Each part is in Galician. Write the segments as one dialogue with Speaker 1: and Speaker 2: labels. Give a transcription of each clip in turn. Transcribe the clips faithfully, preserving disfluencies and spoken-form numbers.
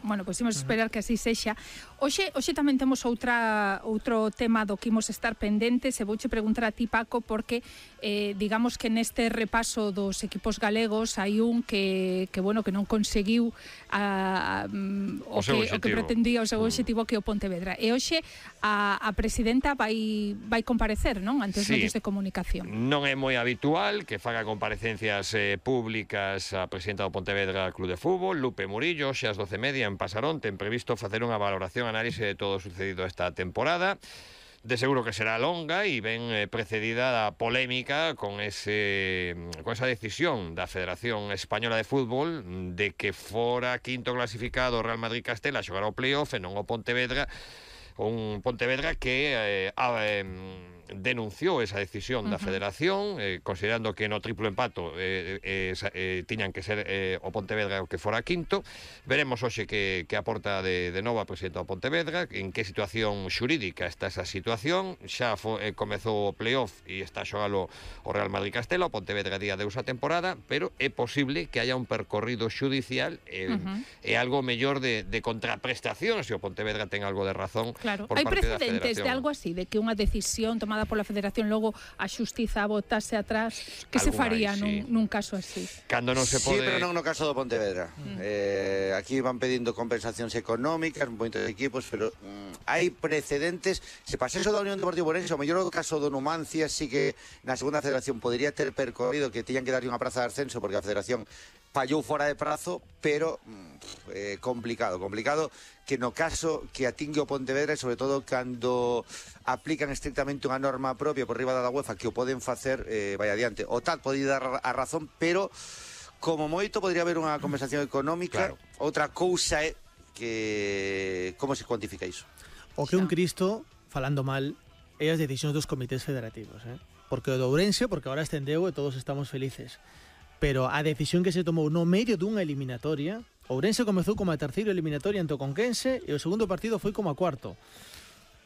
Speaker 1: bueno, pois imos esperar que así sexa. Hoxe, hoxe tamén temos outra outro tema do que imos estar pendentes, e vouche preguntar a ti, Paco, porque eh, digamos que neste repaso dos equipos galegos hai un que, que bueno, que non conseguiu a, a, o, o, que, o que pretendía o seu obxectivo, que é o Pontevedra. E hoxe a, a presidenta vai vai comparecer, non? Ante os sí. medios de comunicación.
Speaker 2: Non é moi habitual que faga comparecencias eh, públicas a presidenta do Pontevedra Club de Fútbol, Lupe Murillo. Xe ás doce e media en Pasarón ten previsto facer unha valoración, análise de todo o sucedido esta temporada. De seguro que será longa e ben eh, precedida da polémica con ese con esa decisión da Federación Española de Fútbol de que fora quinto clasificado o Real Madrid-Castela a xogar ao playoff e non o Pontevedra, un Pontevedra que eh, a, eh, denunciou esa decisión da Federación, eh, considerando que no triplo empato eh, eh, eh, tiñan que ser eh, o Pontevedra o que fora quinto. Veremos hoxe que, que aporta de, de novo a presidenta do Pontevedra, en que situación xurídica está esa situación. Xa fo, eh, comezou o playoff e está a xogalo o Real Madrid-Castela, o Pontevedra día deus a temporada, pero é posible que haya un percorrido xudicial e eh, uh-huh. eh, algo mellor de, de contraprestación, se o Pontevedra ten algo de razón.
Speaker 1: Claro,
Speaker 2: por
Speaker 1: hai
Speaker 2: parte
Speaker 1: precedentes de algo así, de que unha decisión tomada pola Federación logo a xustiza botase atrás, que se faría hai, sí. nun, nun caso así?
Speaker 2: Cando non se pode...
Speaker 3: Sí, pero non no caso do Pontevedra. Mm. Eh, aquí van pedindo compensacións económicas, moitos equipos, pero mm, hai precedentes. Se pase eso da Unión Deportiva Ourense, o mellor o caso do Numancia, sí que na segunda federación podría ter percorrido que tiñan que darlle unha praza de ascenso, porque a federación fallou fora de prazo, pero eh, complicado, complicado que no caso que atingue o Pontevedra, e sobre todo cando aplican estrictamente unha norma propia por riba da UEFA que o poden facer, eh, vai adiante. O T A D pode dar a razón, pero como moito podría haber unha compensación económica. Claro. Outra cousa é que como se cuantifica iso.
Speaker 4: O que un Cristo, falando mal, é as decisións dos comités federativos, eh? Porque o do Ourense, porque agora estendeu e todos estamos felices. Pero a decisión que se tomou no medio dunha eliminatoria, Ourense comezou como a terceira eliminatoria ante o Conquense e o segundo partido foi como a cuarto.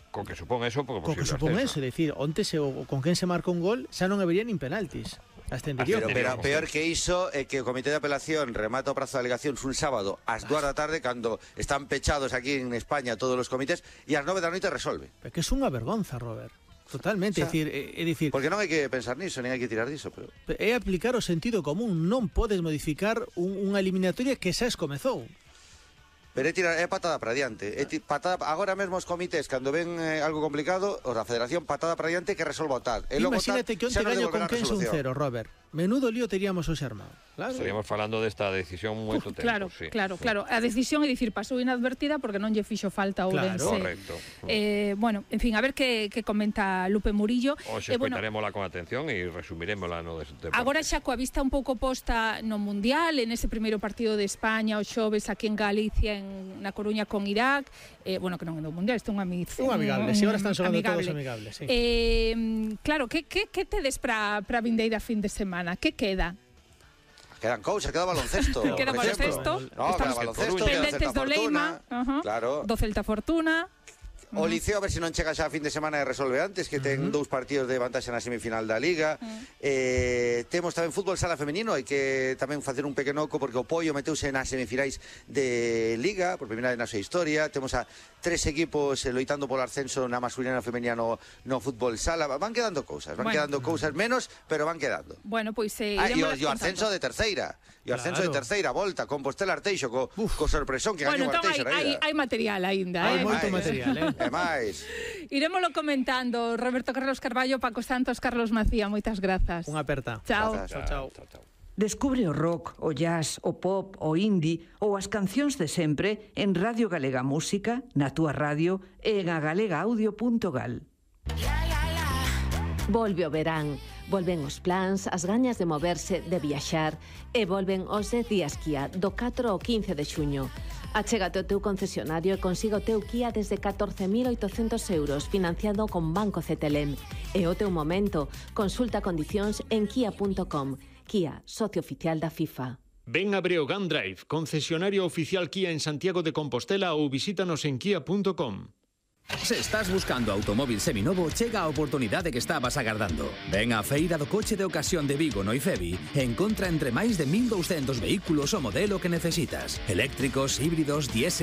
Speaker 2: Con que supón eso, porque
Speaker 4: Con que supón eso, é dicir, onte se o Conquense marca un gol, xa non habería nin penaltis. Ascendería.
Speaker 3: Pero, pero peor que iso é que o Comité de Apelación remata o prazo de alegacións un sábado ás dúas da tarde, cando están pechados aquí en España todos os comités, e ás nove da noite resolve.
Speaker 4: É que é unha vergonza, Robert. Totalmente, o sea, é dicir, é, é dicir,
Speaker 3: porque non hai que pensar niso, nin hai que tirar diso, pero
Speaker 4: é aplicar o sentido común, non podes modificar un, unha eliminatoria que xa es comezou.
Speaker 3: Pero é tirar, é patada para diante. É patada, agora mesmo os comités, cando ven eh, algo complicado, os da Federación, patada para diante que resolva o T A D.
Speaker 4: Imagínate que onte gaño con Conquense un cero, Robert. Menudo lío teríamos hoxe armado.
Speaker 2: Claro. Estaríamos falando desta decisión moito tempo.
Speaker 1: Claro,
Speaker 2: sí.
Speaker 1: claro, claro. A decisión é dicir, pasou inadvertida porque non lle fixo falta ao Ourense.
Speaker 2: Claro, correcto.
Speaker 1: Eh, bueno, en fin, a ver que, que comenta Lupe Murillo.
Speaker 2: Hoxe
Speaker 1: eh, bueno,
Speaker 2: escoitarémola con atención e resumiremosla no deporte.
Speaker 1: Agora xa coa vista un pouco posta no Mundial, en ese primeiro partido de España, o xoves aquí en Galicia, en, na Coruña con Irak, eh, bueno, que non é do Mundial, isto é un amigo.
Speaker 4: Un amigable, si agora están xogando todos amigables, sí.
Speaker 1: Eh, claro, que, que, que tedes para a vindeira fin de semana? Que queda?
Speaker 3: Quedan cousas, queda baloncesto.
Speaker 1: Queda baloncesto.
Speaker 3: No, queda baloncesto,
Speaker 1: pendentes do Leima,
Speaker 3: claro.
Speaker 1: Do Celta Fortuna.
Speaker 3: O Liceo, a ver se non chega xa a fin de semana e resolve antes, que ten uh -huh. dous partidos de vantaxe na semifinal da Liga. Uh -huh. eh, temos tamén fútbol sala femenino, hai que tamén facer un pequeno oco, porque o Pollo meteuse nas semifinais de Liga, por primeira vez na súa historia. Temos a tres equipos eh, loitando polo ascenso na masculina e na femenina no, no fútbol sala. Van quedando cousas, van bueno. quedando cousas menos, pero van quedando.
Speaker 1: Bueno, pois pues, eh,
Speaker 3: ah, e o, o ascenso de terceira. E o ascenso claro. de terceira volta, Compostela Arteixo, co, co sorpresón que
Speaker 1: bueno,
Speaker 3: gañou
Speaker 1: entón
Speaker 3: Arteixo.
Speaker 1: Hai, hai material aínda,
Speaker 4: hai
Speaker 1: eh?
Speaker 4: moito material, eh?
Speaker 3: E máis.
Speaker 1: Irémolo comentando. Roberto Carlos Carballo, Paco Santos, Carlos Macía, moitas grazas.
Speaker 4: Unha aperta.
Speaker 1: Chao.
Speaker 3: Grazas.
Speaker 4: Chao, chao. chao.
Speaker 5: Descubre o rock, o jazz, o pop, o indie ou as cancións de sempre en Radio Galega Música, na túa radio e en agalegaaudio punto gal.
Speaker 6: Volve o verán, volven os plans, as gañas de moverse, de viaxar, e volven os dez días Kia do catro ao quince de xuño. Achégate ao teu concesionario e consiga o teu Kia desde catorce mil oitocentos euros financiado con Banco Cetelem. É o teu momento. Consulta condicións en kia punto com. Kia, socio oficial da FIFA.
Speaker 7: Ven a Breogán Drive, concesionario oficial Kia en Santiago de Compostela, ou visítanos en kia punto com.
Speaker 8: Se estás buscando automóvil seminovo, chega a oportunidade que estabas agardando. Ven á Feira do Coche de Ocasión de Vigo no IFEBI e encontra entre máis de mil douscentos vehículos o modelo que necesitas. Eléctricos, híbridos, diésel,